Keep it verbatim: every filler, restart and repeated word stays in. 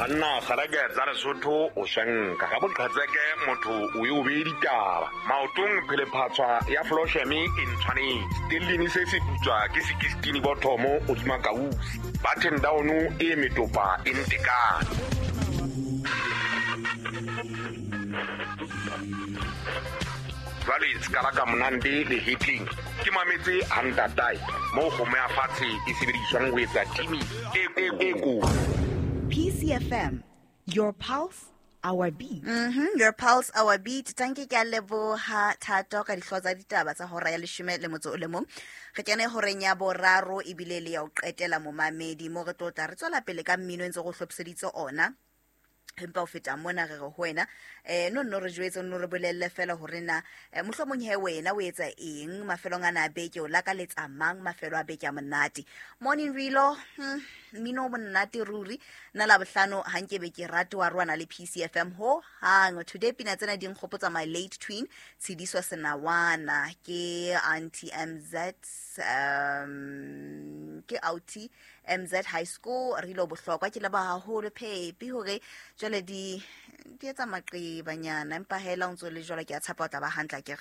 Banna kgalake tsa Lesotho o swanka ka boqhetseke motho o ye o beye ditaba maotong phelephatshwa ya flosheme e ntshwanetse tellini se se putswa ke sekistini bothomo hodima kausi button down e metopa e ntekane. Jwale sekala ka monande le hitling ke mametse hantatae moo kgomo ya fatshe e sebediswang ho etsa timi e e ko. P C F M, your pulse, our beat. Mm-hmm, your pulse, our beat. Tanki ke a leboha Thato ka dihlooho tsa ditaba tsa hora ya leshome le motso o le mong. Re kene horeng ya boraro ebile le ya ho qetela momamedi mo re tlo tla re tswela pele ka mmino e ntse go hlophiseditse ona. Empa ho feta mona re re ho wena eh no nno re jwetse no re bolelle fela hore na mohlomong he wena o etsa eng mafelong ana a beke, o lakaletsa mang mafelo a beke a monate. Morning Rilo, mmino o monate ruri nna la bohlano ha nke be ke rate wa rwana le P C F M ho hang. Today pina tsena di nkgopotsa my late twin Tshediswa Senawana ke Auntie M Z, um ke Auntie M Z High School. Rilo bohlokwa ke leboha haholo Phepi hore jwale di di etsa maqebanyana, empa hela o ntso le jwalo ke a tshepa o tla ba hantle akere.